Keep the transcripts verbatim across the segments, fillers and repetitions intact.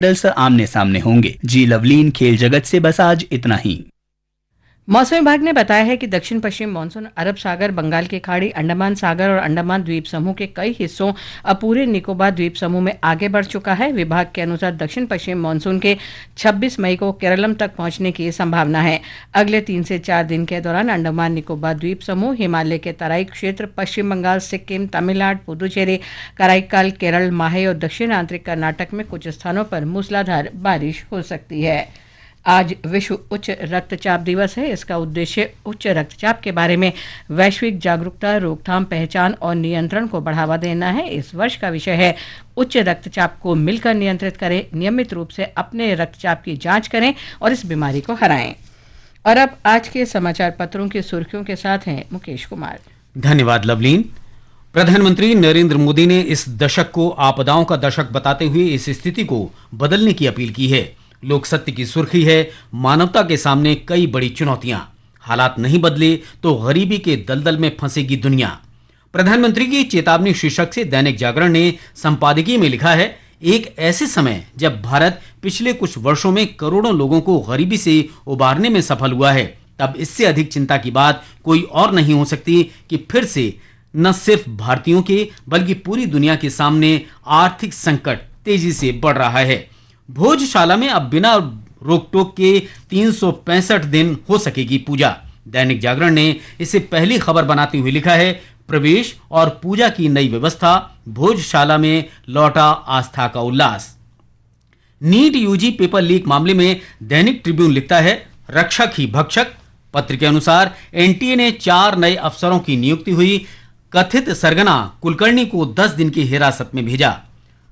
Medals आमने सामने होंगे। जी लवलीन, खेल जगत से बस आज इतना ही। मौसम विभाग ने बताया है कि दक्षिण पश्चिम मानसून अरब सागर, बंगाल की खाड़ी, अंडमान सागर और अंडमान द्वीप समूह के कई हिस्सों और पूरे निकोबार द्वीप समूह में आगे बढ़ चुका है। विभाग के अनुसार दक्षिण पश्चिम मानसून के छब्बीस मई को केरलम तक पहुंचने की संभावना है। अगले तीन से चार दिन के दौरान अंडमान निकोबार द्वीप समूह, हिमालय के तराई क्षेत्र, पश्चिम बंगाल, सिक्किम, तमिलनाडु, पुदुचेरी, कराईकाल, केरल, माहे और दक्षिण आंतरिक कर्नाटक में कुछ स्थानों पर मूसलाधार बारिश हो सकती है। आज विश्व उच्च रक्तचाप दिवस है। इसका उद्देश्य उच्च रक्तचाप के बारे में वैश्विक जागरूकता, रोकथाम, पहचान और नियंत्रण को बढ़ावा देना है। इस वर्ष का विषय है उच्च रक्तचाप को मिलकर नियंत्रित करें। नियमित रूप से अपने रक्तचाप की जांच करें और इस बीमारी को हराएं। और अब आज के समाचार पत्रों की सुर्खियों के साथ हैं मुकेश कुमार। धन्यवाद लवलीन। प्रधानमंत्री नरेंद्र मोदी ने इस दशक को आपदाओं का दशक बताते हुए इस स्थिति को बदलने की अपील की है। लोकसत्य की सुर्खी है, मानवता के सामने कई बड़ी चुनौतियां। हालात नहीं बदले तो गरीबी के दलदल में फंसेगी दुनिया। प्रधानमंत्री की चेतावनी शीर्षक से दैनिक जागरण ने संपादकीय में लिखा है, एक ऐसे समय जब भारत पिछले कुछ वर्षों में करोड़ों लोगों को गरीबी से उबारने में सफल हुआ है, तब इससे अधिक चिंता की बात कोई और नहीं हो सकती कि फिर से न सिर्फ भारतीयों के बल्कि पूरी दुनिया के सामने आर्थिक संकट तेजी से बढ़ रहा है। भोजशाला में अब बिना रोक टोक के तीन सौ पैंसठ दिन हो सकेगी पूजा। दैनिक जागरण ने इसे पहली खबर बनाते हुए लिखा है, प्रवेश और पूजा की नई व्यवस्था, भोजशाला में लौटा आस्था का उल्लास। नीट यूजी पेपर लीक मामले में दैनिक ट्रिब्यून लिखता है, रक्षक ही भक्षक। पत्र के अनुसार एनटीए ने चार नए अफसरों की नियुक्ति हुई। कथित सरगना कुलकर्णी को दस दिन की हिरासत में भेजा।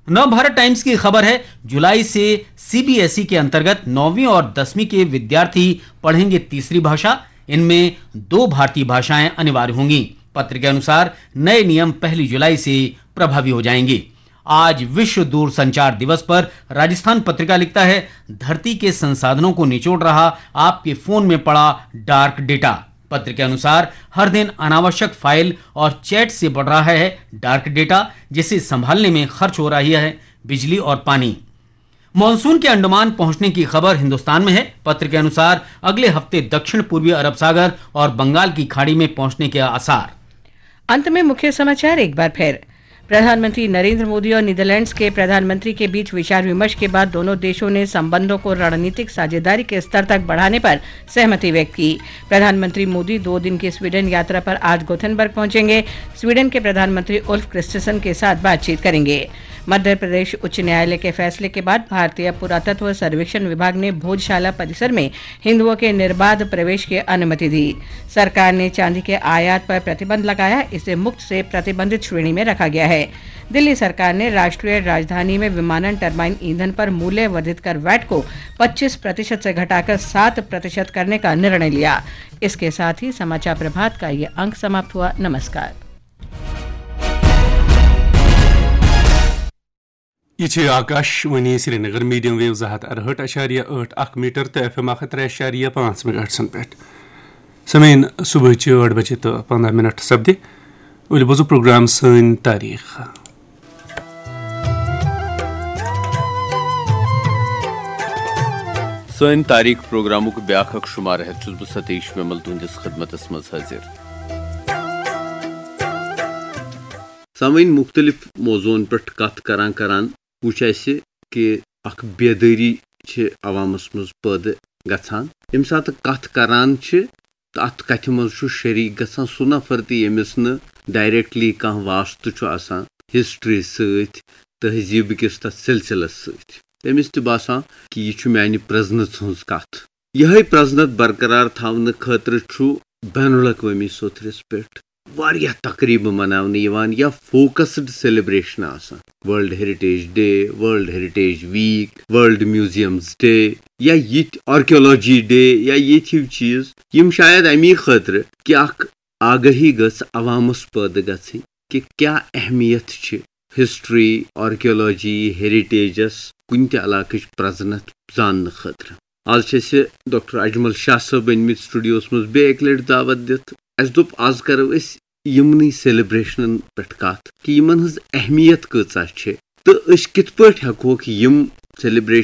नवभारत टाइम्स की खबर है, जुलाई से सीबीएसई के अंतर्गत नौवीं और दसवीं के विद्यार्थी पढ़ेंगे तीसरी भाषा। इनमें दो भारतीय भाषाएं अनिवार्य होंगी। पत्र के अनुसार नए नियम पहली जुलाई से प्रभावी हो जाएंगे। आज विश्व दूरसंचार दिवस पर राजस्थान पत्रिका लिखता है, धरती के संसाधनों को निचोड़ रहा आपके फोन में पड़ा डार्क डेटा। पत्र के अनुसार हर दिन अनावश्यक फाइल और चैट से बढ़ रहा है डार्क डेटा, जिसे संभालने में खर्च हो रही है बिजली और पानी। मानसून के अंडमान पहुंचने की खबर हिंदुस्तान में है। पत्र के अनुसार अगले हफ्ते दक्षिण पूर्वी अरब सागर और बंगाल की खाड़ी में पहुंचने के आसार। अंत में मुख्य समाचार एक बार फिर। प्रधानमंत्री नरेंद्र मोदी और नीदरलैंड्स के प्रधानमंत्री के बीच विचार विमर्श के बाद दोनों देशों ने संबंधों को रणनीतिक साझेदारी के स्तर तक बढ़ाने पर सहमति व्यक्त की। प्रधानमंत्री मोदी दो दिन की स्वीडन यात्रा पर आज गोथेनबर्ग पहुंचेंगे। स्वीडन के प्रधानमंत्री उल्फ क्रिस्टरसन के साथ बातचीत करेंगे। मध्य प्रदेश उच्च न्यायालय के फैसले के बाद भारतीय पुरातत्व सर्वेक्षण विभाग ने भोजशाला परिसर में हिंदुओं के निर्बाध प्रवेश की अनुमति दी। सरकार ने चांदी के आयात पर प्रतिबंध लगाया, इसे मुक्त से प्रतिबंधित श्रेणी में रखा गया है। दिल्ली सरकार ने राष्ट्रीय राजधानी में विमानन टरबाइन ईंधन पर मूल्य वर्धित कर वैट को पच्चीस प्रतिशत से घटाकर सात प्रतिशत करने का निर्णय लिया। इसके साथ ही समाचार प्रभात का ये अंक समाप्त हुआ। नमस्कार। یہِ چھِ آکاشوانی سرینگر، میڈیم ویو زٕ ہتھ ارہٲٹھ اَشاریہ ٲٹھ اکھ میٹر تہٕ ایف ایم اکھ ہتھ ترٛےٚ اَشاریہ پانٛژھ میگاہٹسن پٮ۪ٹھ۔ سامعین، صبحٕچہِ ٲٹھ بجے تہٕ پنٛداہ منٹ سپدِ۔ ؤلِو بوزو پروگرام سٲنۍ تاریخ۔ سٲنۍ تاریخ پروگرامُک بیٛاکھ اکھ شمارٕ ہٮ۪تھ چھُس بہٕ ستیش وِمل تُہنٛدِس خدمتس منٛز حٲضِر۔ سامعین، مُختٔلِف موضوعن پٮ۪ٹھ کتھ کران کران وُچھ اسہِ کہِ اکھ بیدٲری چھِ عوامس منٛز پٲدٕ گژھان۔ ییٚمہِ ساتہٕ کتھ کران چھِ تہٕ اتھ کتھِ منٛز چھُ شریک گژھان سُہ نفر تہِ ییٚمِس نہٕ ڈائریکٹلی کانٛہہ واسطہٕ چھُ آسان ہسٹری سۭتۍ، تہذیٖب کِس تتھ سلسلس سۭتۍ۔ تٔمِس تہِ باسان کہِ یہِ چھُ میانہِ پرزنس ہٕنٛز کتھ۔ یِہے پرزنت برقرار تھاونہٕ خٲطرٕ چھُ بین الاقوٲمی سوٚتھرِس پٮ۪ٹھ واریاہ تقریبہٕ مناونہٕ یِوان یا فوکسڈ سیلیبریشن آسان۔ World Heritage Day, World Heritage Week, World Museums Day یا یِتھۍ آرکیولوجی ڈے یا یِتھۍ ہِوۍ چیٖز، یِم شاید امی خٲطرٕ کہِ اکھ آگاہی گٔژھ عوامس پٲدٕ گژھٕنۍ کہِ کیاہ اہمیت چھِ ہسٹری، آرکیولوجی، ہیریٹیجس کُنہِ تہِ علاقٕچ پرزنت زاننہٕ خٲطرٕ۔ آز چھِ أسۍ ڈاکٹر اجمل شاہ صٲب أنمٕتۍ سٹوڈیوس منٛز بیٚیہِ اکہِ لٹہِ دعوت دِتھ۔ اسہِ دوٚپ آز کرو أسۍ یِمنٕے سیلیبریشنن پٮ۪ٹھ کتھ کہِ یِمن ہٕنٛز اہمیت کۭژاہ چھِ تہٕ أسۍ کِتھ پٲٹھۍ ہٮ۪کہوکھ یِم celebration